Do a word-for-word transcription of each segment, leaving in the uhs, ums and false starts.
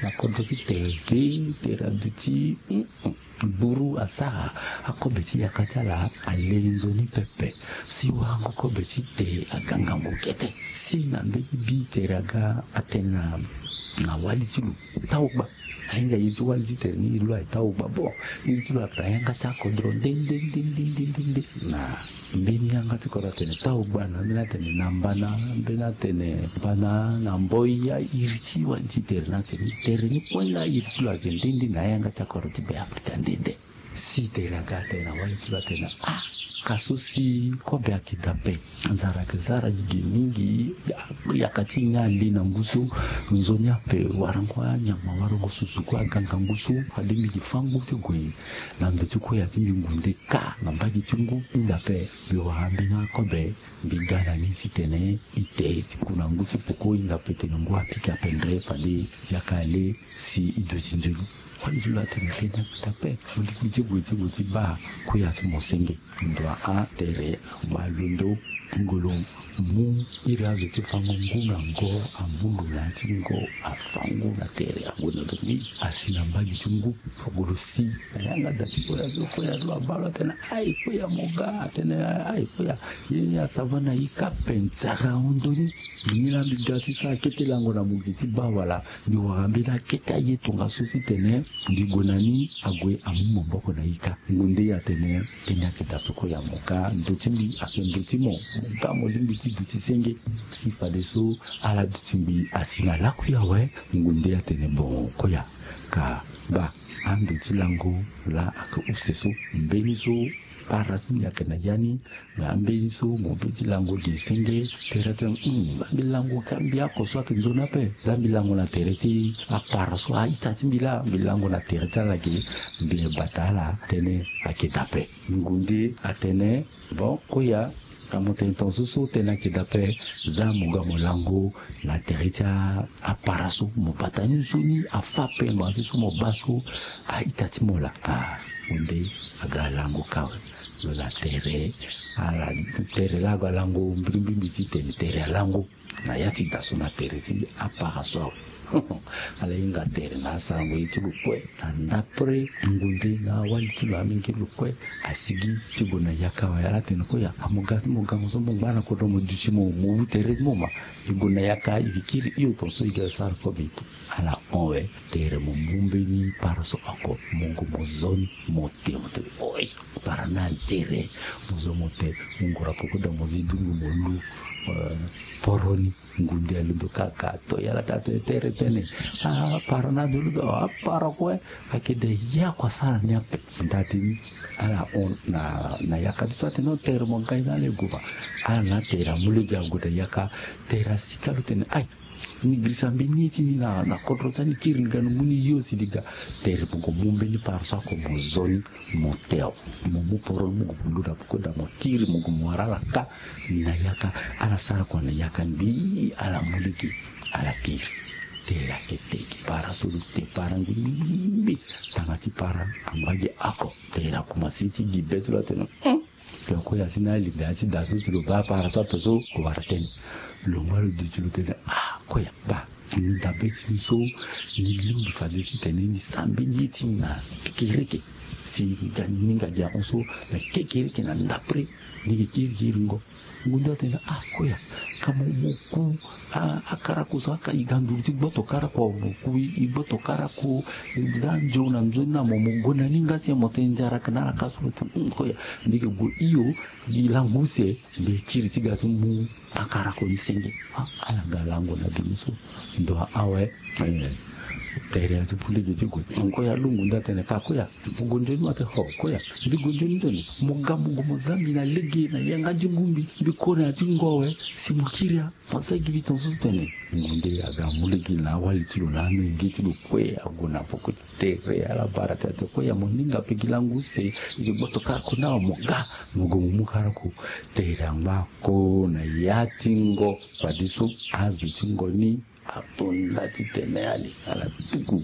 Na kodro ti tere ge, tere aduti. Gburu asara akobe ti yaka ti ala ale nzoni pepe. Si warango kobe ti te aga ngangu kete. Si na mbeni bi tere aga atene na wali ti lo, tau gba. Ahinga iri ti wali ti tere ni, iri lo aye tau gba. Bon, iri ti lo ayeke na yanga ti akodro nde nde nde nde nde nde. Na mbeni yanga ti kodro atene tau gba, na mbeni atene na mbana, mbeni atene mbana na mboi. Ya iri ti wali ti tere ni atene tere ni kue nga iri ti lo ayeke nde nde na yanga ti akodro ti Beafrika nde nde. Si tere aga atene na wali ti lo atene ah, ka so si kobe ayeke dape. Nzara ayeke zara gi gi mingi. Yaka ti e ni ale na ngu so. Nzoni ape warango anyama, warango susu kue aga ngangu so. Fade mbi gi fango ti gue na ndo ti koya ti mbi ngu nde ka na mbage ti ngu. Hinga ape mbi wara mbeni akobe. Mbi ga na ni titene ite ti ku na ngu ti poko, hinga ape tene ngu apika pendere fade yaka ale si e duti nzoni. Wali ti lo atene tene ayeke dape. Mo lingbi ti gue ti gue ti baa koya ti mo senge. Ndo a tere ma londo ngolo mu iri azo ti fango ngu na ngo, amu lo na ya ti ngo, afango na tere, ague na lo ni asi na mbage ti ngu. Foko lo si na yanga da ti koya ti lo, koya ti lo abaa lo atene ai koya mo ga, atene ai koya. Ye ni asava na ika mpe nzara ahon ndoni. Mbi ni laa mbi ga ti sara kete lango na mo gi ti baa wala mbi wara mbeni akete aye tongaso titene mbi gue na ni ague amu maboko na ika. Ngu nde atene tene ayeke dape koya mo ga, ndo ti mbi ayeke ndo ti mo. Mo ga mo lingbi ti duti senge. Si fadeso ala duti mbi asi na lakui awe. Ngu nde atene bon koya ka baa ando ti lango laa ayeke use so. Mbeni so para ti mbi ayeke na ya ni. Me ambeni so mo be ti lango gi senge. Tere atene hum mbi lango ka mbi oko so ayeke nzoni ape. Za mbi lango na tere ti apara so a-ita ti mbi laa mbi lango na tere ti ala gi. Mbi bata ala tënë ayeke dape. Ngu nde atene bon koya ka mo tene tongaso so tënë ayeke dape. Za mo ga mo lango na tere ti apara so mo bata ni nzoni afa ape ngbanga ti so mo baa so a-ita ti mo laa. Ah, ngu nde aga alango ka awe. Lo na tere ala tere laa aga alango mbirimbiri mbi ti tene tere alango na ya ti da so na tere ti apara so awe. Ala hinga tere na asarango ye ti lo kue na ndapre. Ngu nde na awali ti lo amenge lo kue asigi ti gue na yaka awe. Ala tene koya amo ga ti mo gango so mo ngba na kodro mo duti mo mo mu tere ti mo ma. E gue na yaka e ke kiri hio tongaso e ga sara kobe. Ala hon awe tere mo mu mbeni para so oko mo gue mo zo ni mo te mo te oi. Para ni anzere. Mo zo mo te mo ngura poko da mo zi dungu mo lu poro ni. Ngu nde alondo kaka to ya ala taa tene tere tene. Ah, para ni alondo apara kue. Ayeke de ya kua sara ni ape. Nda ti ni ala hon na yaka ti so atene no tere mo ga ye na ala e gue ma. Ala na atere amu lege ague na yaka. Tere asika lo tene ai. Ni girisa mbeni ye ti ni na kodro ti ani kiri ni ga ni mu ni yo si ni ga. Tere mo gue mu mbeni para so oko mo zo ni mo te awe. Mo mu poro ni mo gue mo lu na poko da mo kiri mo gue mo wara ala ka. Na yaka ala sara kua na yaka ni mbi ala mu lege. Ala kiri. Tere ayeke te gi para so lo te para ngbi ngbi ngbi. Tanga ti para angba gi oko. Tere akumase ti gi be ti lo atene hum. Pe koya si na ali da ya ti da so si lo baa para so ape so ko wara tënë. Lo ngba lo duti lo tene ah koya baa. Ni dabe ti ni so ni lingbi fade titene ni sara mbeni ye ti ni na kekereke. Si ni ga ni hinga gi ahon so na kekereke na ndapre. Ni gi kiri kiri ngo. Ngu nde atene ah koya ka mo mo ku. Akarako so aka e ga nduru ti gboto karako awe mo ku e gboto karako. E za nzeu na nzoni na mo mo gue na ni nga si mo tene nzara ayeke na ala ka so lo tene hum koya. Ni gi gue hio. Gi lango use. Mbi kiri ti ga ti mu akarako ni senge. Ah ala ga lango na bini so. Ndo awe. Tere ati pu lege ti gue. Koya lungu nda tene ka koya. Mo gue nzoni ma te ho koya. Mbi gue nzoni tene mo ga mo gue mo za mbi na lege na yanga ti ngu mbi. Mbi kore na ya ti ngo awe. Si mo kiri a. Mo za gi mbi tongaso so tene. Ngu nde aga amu lege na awali ti lo na amenge ti lo kue ague na poko ti tere ala bara tene ate koya mo ninga pe gi lango use. E gi gboto karako ni awe mo ga. Mo gue mo mu karako. Tere angba ko na ya ti ngo. Fadeso azo ti ngo ni ato nda ti tene ali ala tuku.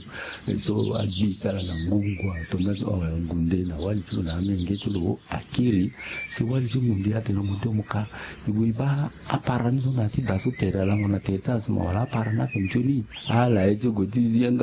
So agbi ti ala na ngu ngu ato nda ti awe ngu nde na wali ti lo na amenge ti lo akiri. Si wali ti ngu nde atene mo te mo ka. E gue e baa apara ni so na ya ti da so tere alango na tere ti ala si mo wala apara ni ape nzoni. Ala ye ti gue ti zi yanga.